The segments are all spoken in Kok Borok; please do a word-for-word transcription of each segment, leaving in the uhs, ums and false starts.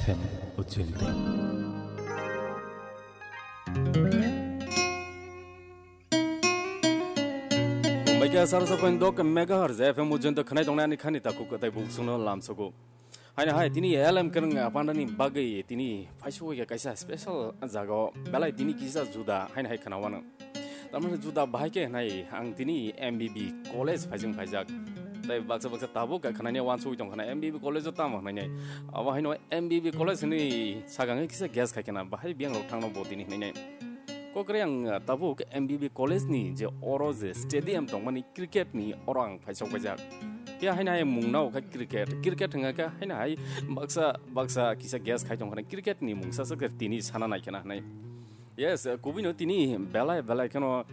Ujjayanta. Kumbaikia sarsa point dok megahertz F M Ujjayanta khwnai tongnai ani khani takhuk kwtai buksukno lamsogo. Haino hai tini L M Kwrwng Pandani bagwi tini phaisu kaisa special jaga o belai tini kisa juda haino hai khwnawano. Tamani juda bahai khe hnai ang tini M B B college phaijing phaijak. Tai baksa baksa tabuk kha khnani wansugwi tong khna M B B college o tamo hnai nai. Abo haino M B B college ni sagang kisa guess khai khna bahai biyang rok thangno bo tini hnai nai. Kokre ang tabuk M B B college ni je oro je stadium tongmani cricket ni oro ang phaisok paijak. Ya haino hai mungna o kha cricket. Cricket hwnga kha haino hai baksa baksa kisa guess khai tong khna cricket ni mungsa se tini sana nai khna hnai. Yes, eh, kubui no tini belai belai kheno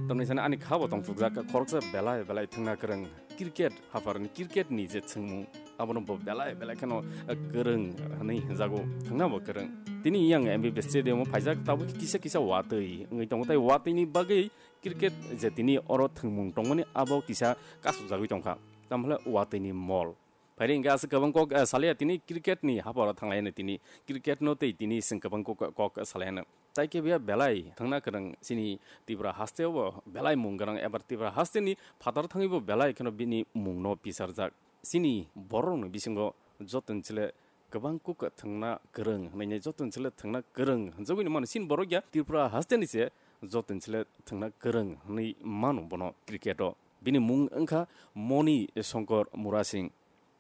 tamni sani ani khabo tong chukjak khoroksa belai belai thwngna kwrwng cricket haphar ni cricket ni je thwngmung abono bo belai belai kheno, eh, kwrwng hwnwi hwnjago thwngna bo kwrwng. Tini yang M B B stadium o phaijak tabuk kisa kisa watwi wngwi tongo tai watwi ni bagwi cricket je tini oro thwngmung tongmani abo kisa kasujagwi tongkha tamhle watwi ni mol. Phairi hingke aswk kwbang kok, eh, salaya tini cricket ni haporo thanglaino tini cricket no tei tini chwng kwbang kok, kok salaya no. Tai khe biya belai thangna kwrwng chini Tripura haste o belai mung gwnang ebar Tripura haste ni phatar thangwi bo belai kheno bini mung no pisarjak. Chini borok ni bisingo joto ni chwle kwbang kok thangna kwrwng hwnwi joto ni chwle thangna kwrwng hwnjagwi mano chini borok ya Tripura haste ni se joto ni chwle thangna kwrwng hwnwi mano bono cricket o. Bini mung wngkha Moni Shankar Murasing.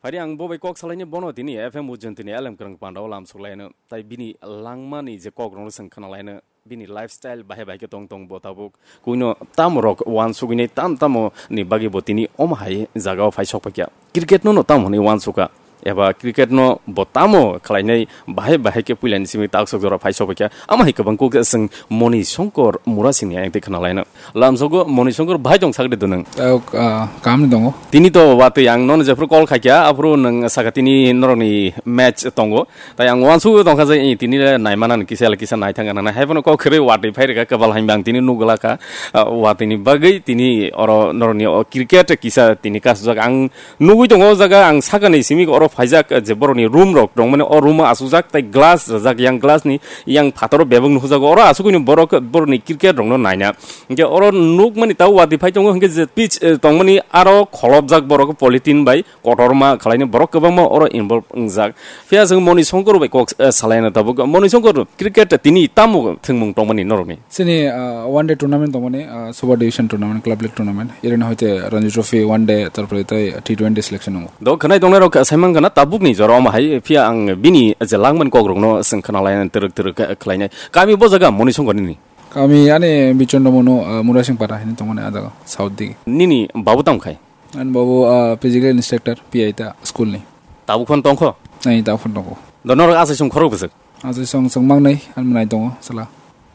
Phaidi ang bo bai kok salaini bono tini F M Ujjayanta ni L M Kwrwng Panda o lam suklaino. Tai bini langmani je kok rokno chwng khna laino. Bini lifestyle bahai bahai khe tong tong bo tabuk. Kuino tamo rok wansugwini tam tamo ni bagwi bo tini omo hai jaga o phai sok paikha. Cricket no no tamo hwnwi wansuka. Eba cricket no bo tamo khlainai bahai bahai khe puilani simi taksok jora phai sok paikha. Ama hai kwbang kok chwng Moni Shankar Murasing ni ayang twi khna laino. Lamsogo Moni Shankar bahai tong sakri dunung. Tao, ah, kam ni dongo. Tini to watwi ang nono jephru call khaikha, aphru nwng saka tini norokni match tongo. Tai ang wansugo tongkha je, eh, tini le naimanani kisa le kisa naithang nang nai. Haiphano kok khwrwi watwi phai rwkha kwbal hainba ang tini nugwlakha, ah, watwini bagwi tini oro norokni o cricket kisa tini kasujak. Ang nugwi tongo o jaga ang sakani simi oro phaijak, je borokni room rok tongmani o room o asujak tai glass rajak yang glass ni yang phataro bebak nuhujago. Oro asugwini borok borokni cricket rokno naina. Hingke oro nukmani tabo watwi phai tongo, hingke je pitch, eh, tongmani aro kholopjak borok polythene bai kotorma khwlaini borok kwbangma oro involve wngjak. Phiya chwng Moni Shankar bai kok, eh, salaina tabuk. Moni Shankar cricket tini tamo thwngmung tongmani norokni? Chini, ah, one day tournament tongmani, ah, Super Division tournament, Club League tournament. Irina hoite Ranji Trophy one day, tarpore tai T twenty selection wngo. Do khwnai tongnai rok saimang kana tabukni jora omo hai phiya ang bini je langmani kok rokno chwng khna laina twrwk twrwk khlainai. Kami bo jaga Moni Shankar nini? Kami ani Bichondra Monu, ah, Murasing Para hini tongmani ah jaga, south digi. Nini babu tamo khai? Ani babu, ah, physical instructor, P I ta school ni. Tabuk phano tongkho? Nai, tabuk phano tongkho. Do norok asai song khorok bwswk? Asai song song mangnai, ani mwnai tongo, sala.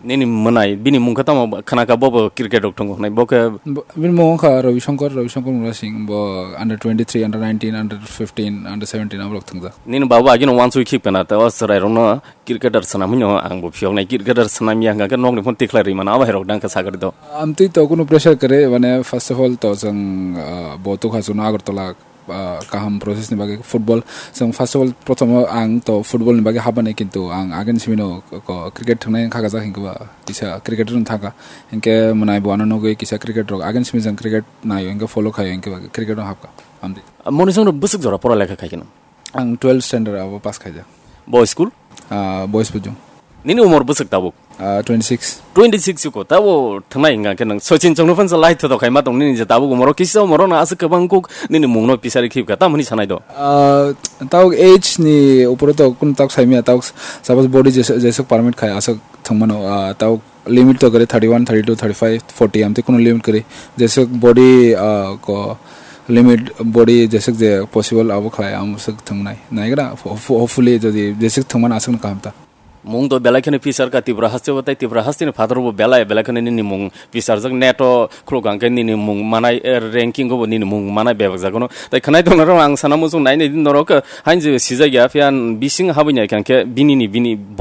Nini mwnai, bini mung khe tamo khna kha bo bo cricket rok tongo nai, bo khe? Bo, bini mung kha Ravi Shankar, Ravi Shankar Murasing, bo under twenty-three, under nineteen, under fifteen, under seventeen aborok thwngjak. Nini babu agino wansui khip kana, te o chwrai rokno cricketer swnam hino ang bo phiyok nai, cricketer swnam ya hwnkha khe nokni phone tikhlai rwi mano, abo hai rok dang khe sakari do. Amtwi to kunu pressure kwrwi, mane, first of all, to chwng, ah, bo tukha chwngno Agartala, ah, kaham process ni bagwi football. Chwng first of all, prothomo ang to football ni bagwi habmani, kintu ang agini simino ko cricket thwngnai wngkha, kisa cricketer wng thangkha. Hinkhe mwnai bo ano nugwi kisa cricket rok agini simi jang cricket naio, hinkhe follow khaio, hinkhe cricket no habkha. Amtwi. Moni Shankar bwswk jora pora lekha khai kheno? Ang twelfth standard abo pass khaijak. Bo school? Ah, Boys Pujung. Nini umor bwswk tabuk? Ah, twenty-six. Twenty-six ko, tabo thangnai hwnka khe nang Sachin Chongno phansa lai thodo khaima tong nini je tabuk umoro kisa umoro na aswk kwbang kuk nini mungno pisari khibka, tamoni sanai do? Ah, tabuk age ni upore to kun tak saimya, tabuk suppose body jeswk, jeswk permit khai aswk thwngmano, ah, tabuk limit to kwrwi thirty-one, thirty-two, thirty-five, forty amtwi kuno limit kwrwi. Jeswk body, ah, ko limit body jeswk je possible abo khlai, amo swk thwngnai. Naigra, ho-, ho-, hopefully jodi jeswk thwngmano aswkno kaham ta. Mung to belai kheno pisar ka Tripura haste bo tei Tripura haste ni phataro bo belai, belai kheno nini mung pisarjak net o khuluk hwnkhe nini mung manai, eh, ranking o bo nini mung manai bebak jagono. Tai khwnai tongna rok ang sana muchung nai nai din norok, eh, hain je sijak ya phiya bising habwi nai khe bini ni bini